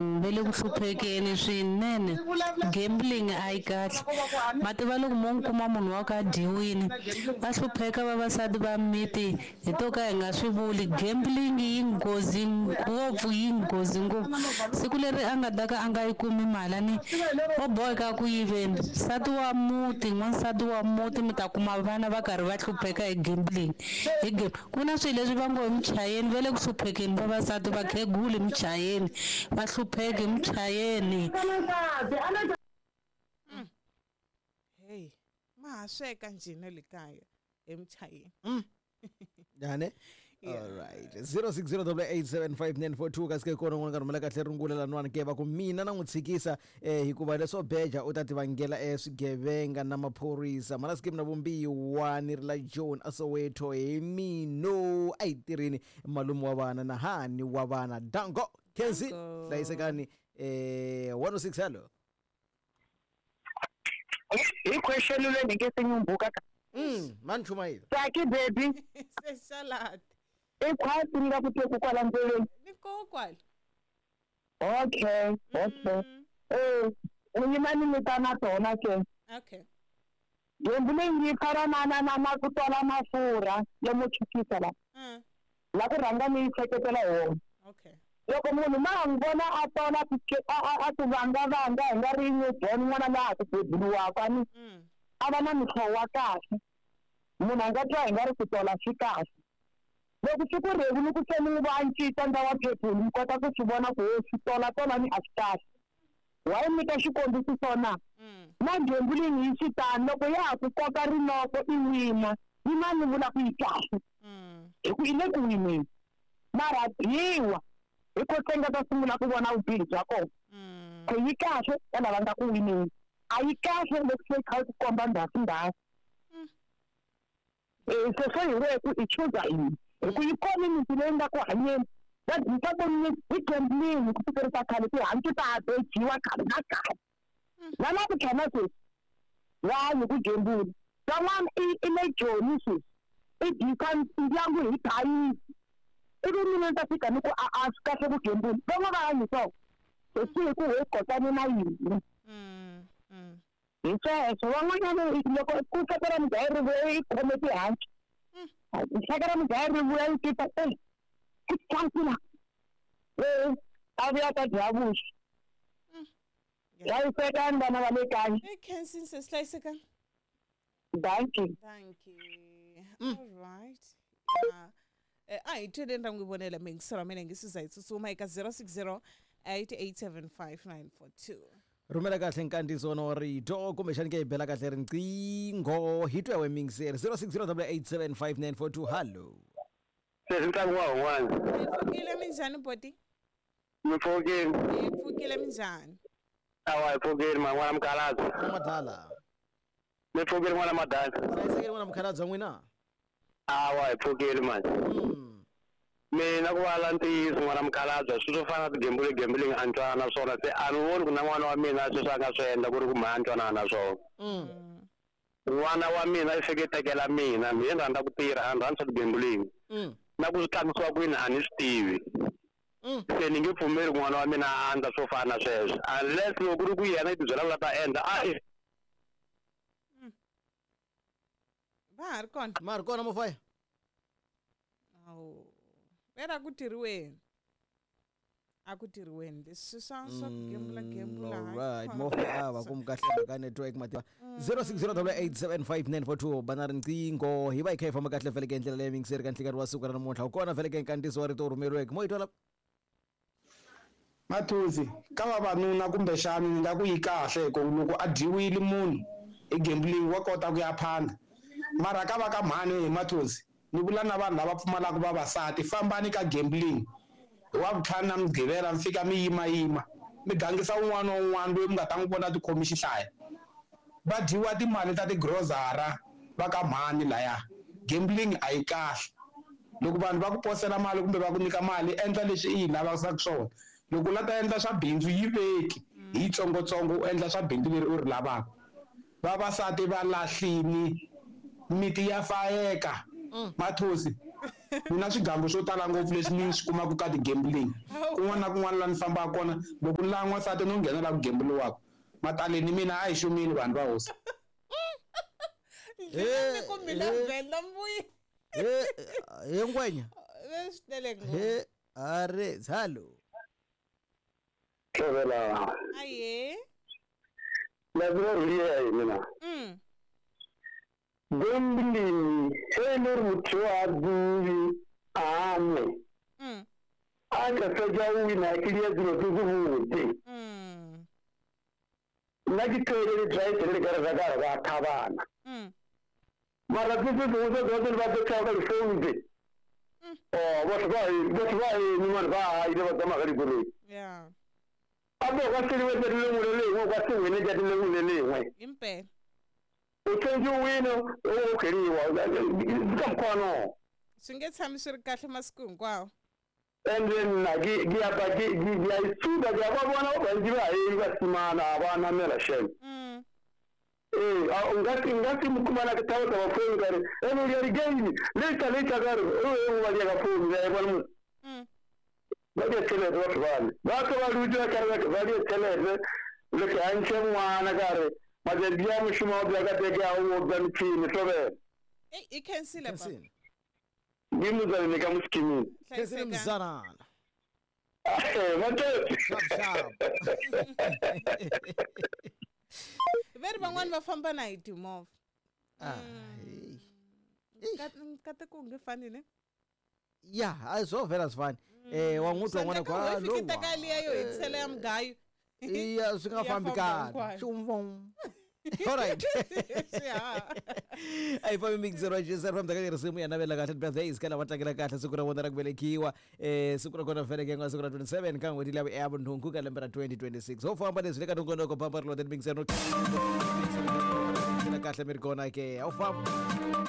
Va le ku hluphekeni swinene. Gambling a yi kahle. Ma tiva loko mo n'wi kuma munhu wa ku a dyiwile, va hlupheka vavasati va miti hi to ka hi nga swi vuli. Gambling yi nghozi ngopfu, yi nghozi ngopfu. Siku leri a nga ta ka a nga yi kumi mali a ni o boheka ku yiveni. Nsati wa muti, n'wansati wa muti mi ta kuma vana va karhi va hlupheka hi gambling. Hi Ku na swilo leswi va ngo hi muchayeni va le ku hluphekeni vavasati vakhegula muchayeni va hlupheki muchayeni. Hey, ma ha sweka njhe na le kaya emuchayeni? Njhani? All right. 0608875942 kasi ke kona n'wana ka rhumela kahle rungula lanwani ke va ku mina na n'wi tshikisa eh, hikuva leswo beja u ta tivangela eh, swigevenga na maphorisa mhana sikimu na vumbiwa ni ri la John a Soweto hi mino a yi tirhini malume wa vana na hani wa vana dango Kenzi Danko. hlayisekani eh, 106 hello Hi question leyi ni nge se nyumbuka ka mani chumayela Tsaki baby Se salad. i khwati ni nga ku teku kwala ndleleni Ni koho kwala. Okay okay eh u yima ni nyika na tona ke Okay. gambling yi fana na na na na ku tola mafurha yo mo chukisa la la ku rhanga ni yi seketela hi wona Okay. Loko munhu ma ha n'wi vona a tola a a a ti vangavanga hi nga ri newborn n'wana la ha ku beburiwaka a ni a va na mihlovo wa kahle munhu a nga twa hi nga ri ku tola swi kahle loko swi ku rhevu ni ku se ni n'wi va cinca ndza wa phephulu mi kota ku swi vona ku ho swi tola tola ni a swi kahle wa yi nyika xikombiso swona na gambling yi swi tano loko ya ha ku koka rinoko i wina yi na ni vula ku yi kahle hi ku i le ku wineni mara dyiwa hi ko se nga ta sungula ku vona vubihi bya kona ku yi kahle ka lava nga ku wineni a yi kahle loko se yi kha yi ku komba ndhasi ndhasi Eh, sweswo hi wehe ku i chuza yini hi ku yi kona miti leyi nga ku hanyeni va dyisa voni hi gambling ku fikerisa khale tihanci ta ha bejiwa khale na khale na la ku tshama sweswi va hanyi ku gembula van'wana i i le joni sweswi i dyisa ndyangu hi thayisi ivi mina ni ta fika ni ku a a swi kahle ku gembula van'wana va hanyi swona se swi hi ku he kotani na yini hi sweswo van'wanyana loko ku hlaka ra mudlayi ri vuya yi khome tihanci hlaka ra mudlayi ri vuya yi tita e i tsankula e a vuya ta dya vuswa hlayisekani vana va le kaya Hey, Kensin says, hlayisekani. Dankie. Dankie. All right. Yeah. A hi tweleni ra n'wi vonela miyingiselo wa mina hi nge siza hi tsutsuma eka 060 8875942. Rhumela kahle nkandziyiso wa rito kumbexani ke hi bela kahle riqingho hi twa we miyingiseri 0608875942 hallo. Sesi ntlangu wa un'wana. Mi pfukile minjhani boti? Mi pfukile. Mi pfukile minjhani? Awa hi pfukile ma n'wana mukhalabye. Madala. Mi pfukile n'wana madala. Hlayisekile n'wana mukhalabye n'wina. Awa hi pfukile mani. Mina ku vala ntiyiso n'wana mukhalabye swilo swo fana na tigembuli gambling a ni twanana na swona se a ni voni ku na n'wana wa mina sweswi a nga swi endla ku ri ku mhani a ni twanana na swona. N'wana wa mina i fike tekela mina mina ni rhandza ku tirha a ni rhandzi swa tigambling. Na ku swi tlangisiwa kwini a ni swi tivi. Se ni nge pfumeli ku n'wana wa mina a endla swo fana na sweswo unless loko ku ri ku yena i tibyela ku la ta endla a Va ha ri kona? Ma ha ri kona mofaya? Awu. Vera ku tirhiweni. A ku tirhiweni leswi swa swa ku gembula gembula. Alright, mofaya a va ku kahle mhaka network mativa 0608875942 bana riqingho hi va hi kha hi famba kahle vhele ke ndlela leyi mingiseri ka nhlikani wa siku ra namuntlha u kona vhele ke nkandziyiso wa rito wu rhumeriweke mo yi twala Mathuzi, ka vavanuna kumbexani ni nga ku yi kahle hi ku loko a dyiwile munhu hi gambling wa kota ku ya phanda. Mara ka va ka mhani he Mathuzi, ni vula na vanhu lava pfumalaka vavasati fambani ka gambling hi Wavuntlhanu na Mugqivela mi fika mi yima-yima mi gangisa un'wana na un'wana loyi mi nga ta n'wi vona a tikhomi xihlaya. Va dyiwa timali ta tigrozara va ka mhani laya. Gambling a yi kahle. Loko vanhu va ku posela mali kumbe va ku nyika mali, endla leswi i yi lavisaka swona. Loko u la ta endla swa bindzu, yi veki hi yitsongotsongo u endla swa bindzu leri u ri lavaka. Vavasati va lahlini, miti ya fayeka. Mathosi, Ni na swigangu swo tala ngopfu leswi ni swi kumaka ka ti-gambling. Kun'wana na kun'wana laha ni fambaka kona, loko ni lava n'wansati no nghena laha ku gemburiwaka. Mataleni mina a hi xumile vanhu va hosi. Ndlela ni ku mina Venda mbuyi. He he ngwenya. Swi tele ngopfu. He are zalo. Tlhevela. Aye. La ruri ya mina. Gambling e le gore motho yo a dule a nwe. A ka fetša o wina ke dia dilo tse tse botse. Nna ke thele le drive le ka re ka re ba thabana. Mara tse tse dingwe tse tsotlhe ba tse ka difounu tse. Oh, batho ba eme mane ba ile ba tsamaya ka dikoloi. Yeah. A bo ka se le le lengwe le lengwe ka se wene tšatši le lengwe le lengwe. Impela. O tshwanetse o wine o kgeriwa ka mokgwa no. Swi nge tshami swi ri kahle masiku hinkwawo. And then nna ke apa ke a ithuta ke a ba bona ba bantsi ba eme ba simana a ba namela shame. Ee, nka se mo khumana ke thaba taba phone ka re ene o dia di-game later later ka re o engwe ba dia ka phone ya e bona mo. Ba dia tšhelete batho bale ba tlo ba dutse ka re ba dia tšhelete le ke a ntšhe ngwana ka re matšatši a mošomo wa bja ka teke a o bja metšhini tlobela. Ei, i khensile baba. Khensile. Ke motswalene ka mo scheming. Khensile mzanana. Matete. Sharp sharp. Ve ri van'wani va famba na hi timovha. Ah, hey. Nkateko u nge fani ne? Ya, a swo vhela swi fani. Wa n'wi twa n'wana Swa endleka kwa ho yi fikita ka liya yo hetisela ya mugayo. Iya, swi nga Ya fambi famba kahle. hinkwayo. Xumvum. All right. Swihaha. A hi fambi mixer wa JSR famba ka risimu ya navela kahle birthdays ka lava tlangela kahle siku ra vona ra ku velekiwa. Siku ra kona vele ke nga siku ra 27 ka n'hweti liya ya vunhungu ka lembe ra 2026. Ho famba leswi le ka nongonoko pamba ri lote mixer no kahle mi ri kona ke. Ho famba.